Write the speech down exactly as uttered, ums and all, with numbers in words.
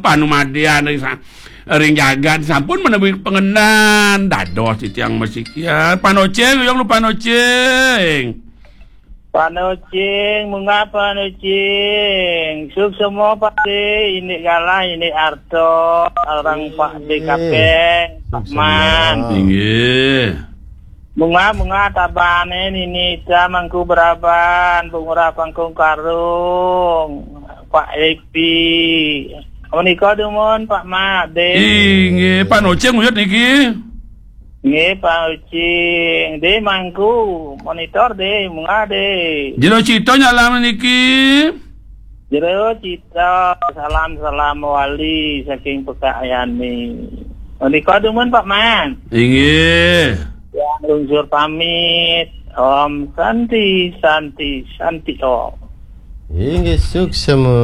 Panumadean ring sa-, ring jagat sampun menawi pangendan. Dados titiang masikian. Panocing, uyang lu panocing. Panocing, munggah panocing. Suksma Pak De, indik galah, indik arta, orang Pak De Kapeng, Pak Man. Inggih. Munggah, munggah tabane nini ita Mangku Braban, Pangurah Pangkung Karung, Pak Epi. Menika dumun, Pak Mat, De. Inggih, Pak Nocing uyut niki. Nggih, Pak Ucing. De Mangku, monitor, De, munggah, De. Jero Cita nyalam niki. Jero Cita, salam-salam wali saking Pekak Yani. Menika dumun, Pak Man. Inggih. Yang lungsur pamit. Om Santi, Santi, Santi Om. Inggih, suksma.